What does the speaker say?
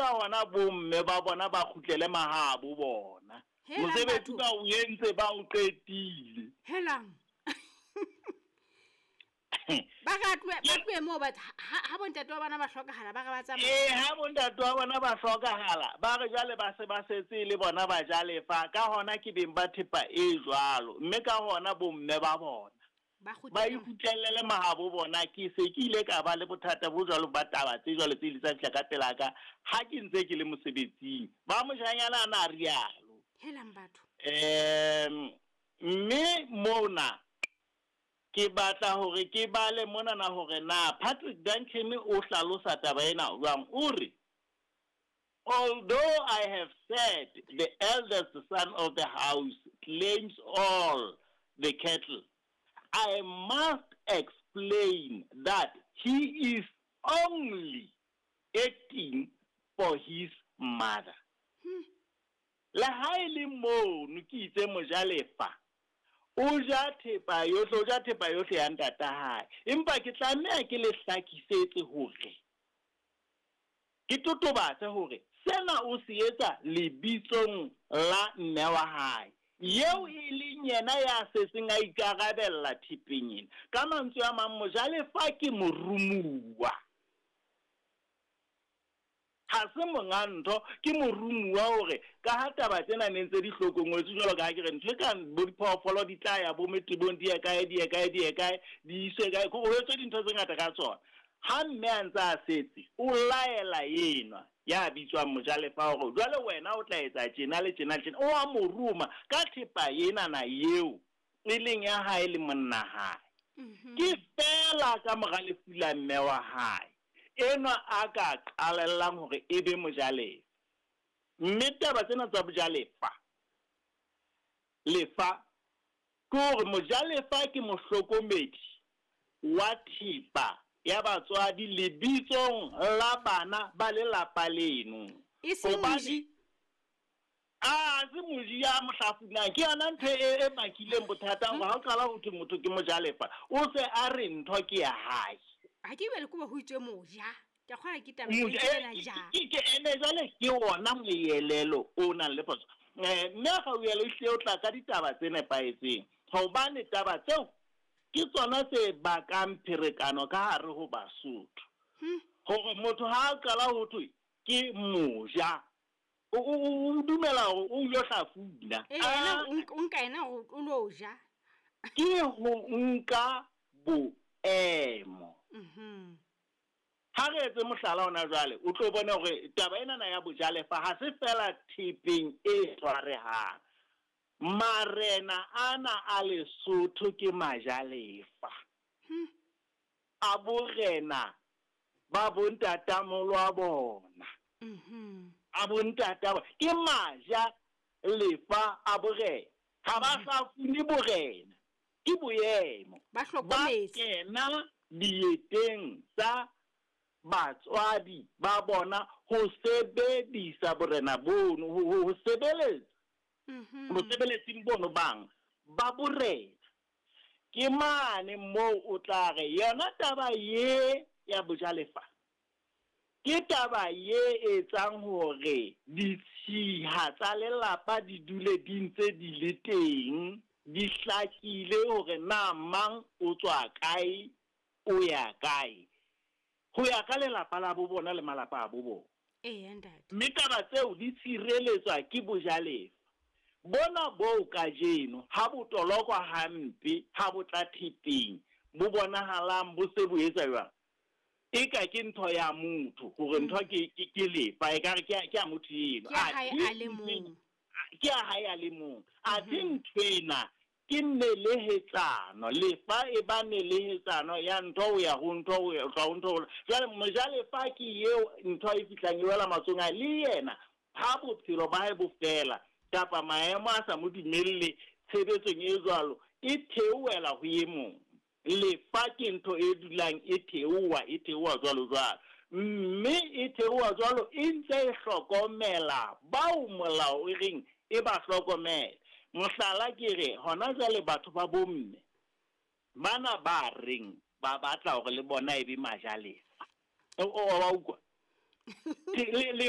ka hona bomme ba bona ba kgutlele mahabo bona. Helang Mosebetsi batho. ba o entse, ba o qetile. Helang. Ba re a tlohe, ba tlohe moo batho, ha bontate wa bona ba hlokahala, ba re ba tsamaye. Ee, ha bontate wa bona ba hlokahala, ba re jwale ba se ba setse le bona ba ja lefa, ka hona ke beng ba thepa e jwalo, mme ka hona bomme ba bona Ba ba kgutlele ikgutlelle mahabo bona. Ke se ke ile ka ba le bothata bo jwalo ba taba tse jwalo tse ile tsa fihla ka pela ka ha ke ntse ke le mosebetsing. Ba moshanyana a na rialo. Helang batho. Mme mona ke batla hore ke bale monana hore na Patrick Duncan o hlalosa taba ena jwang. O re, although I have said the eldest son of the house claims all the cattle, I must explain that he is only acting for his mother. Le ha e le mono ke itse mojalefa, o ja thepa yohle, o ja thepa yohle ya ntata hae. Empa ke tlameha ke le hlakisetse hore, ke totobatse hore sena o se etsa lebitsong la mme wa hae, eo e leng yena ya setseng a ikarabella thepeng ena. Ka mantswe a mang, mojalefa ke morumuwa. Ha se monga ntho, ke morumuwa hore ka ha taba tsena ne ntse di hlokongwetswe jwalo ka ha ke re ntho e kang bo diphoofolo di tla ya bo metebong, di ye kae, di ye kae, di ye kae, di iswe kae, ho etswe dintho tse ngata ka tsona. Ha mme a ntse a setse, o laela enwa ya bitswang mojalefa hore jwale wena o tla etsa tjena le tjena le tjena. O a mo roma ka thepa enana eo e leng ya hae le monna hae. Ke feela ka mora lefu la mme wa hae enwa a ka qalellang hore e be mojalefa. Mme taba tsena tsa bojalefa, lefa, ke hore mojalefa ke mohlokomedi wa thepa ya batswadi lebitsong la bana ba lelapa leno. E seng Hobane moji. A se moji ya mohlafunang. Ke yona ntho e bakileng bothata hore ha o qala ho thwe motho ke mojalefa, o se a re ntho ke ya hae. Ha ke bue le koba ho itswe moja. Ke a kgolwa ke taba Moja, e ena ja. ke ene jwale ke ona moelelo o nang le phoso. Mme ha o ele hle o tla ka ditaba tse nepahetseng, hobane taba tseo ke tsona tse bakang pherekano ka hare ho Basotho. Hore motho ha a qala ho thwe ke moja, o dumela hore o ilo hlafuna. Ee, yena o nka yena hore o lo ja. Ke ho nka boemo. Ha re etse mohlala hona jwale, o tlo bona hore taba enana ya bojalefa ha se feela thepeng e tshwarehang. Marena ana a Lesotho ke majalefa. A borena ba bontatamolo a bona. A bontata ba, ke maja lefa a borena. Ha ba hlafune borena, ke boemo. Ba hlokometse. Ba kena dieteng tsa batswadi ba bona ho sebedisa borena bono, ho sebeletsa. Mosebeletsing bono bang ba borena. Ke mane moo o tla re yona taba ye ya bojalefa ke taba ye etsang hore ditshiha tsa lelapa di dule di ntse di le teng, di hlakile hore na mang o tswa kae, o ya kae, ho ya ka lelapa la bo bona le malapa a bo bona. Eya, ntate. Mme taba tseo di tshireletswa ke bojalefa. Bona boo kajeno ha bo tolokwa hampe, ha bo tla thepeng, bo bonahalang bo se bo etsa jwang? Eka ke ntho ya motho, hore ntho ke lefa, ekare ke ya motho eno. Ke ya hae Athe a le mong. Ke ya hae a le mong. Athe ntho ena ke nelehetsano, lefa e ba nelehetsano ya ntho ho ya ho ntho, ho ya ho ntho, ho ya. Jwale mojalefa ke eo ntho e fihlang e wela matsohong a hae, le yena ha bophelo ba hae bo fela kapa maemo a sa mo dumelle tshebetsong e jwalo, e theohela ho e mong. Lefa ke ntho e dulang e theoha, e theoha jwalo jwalo. Mme e theoha jwalo e ntse e hlokomela bao molao o reng e ba hlokomele. Mohlala ke re hona jwale batho ba bomme bana ba reng ba batla hore le bona e be majalefa. O wa utlwa? Le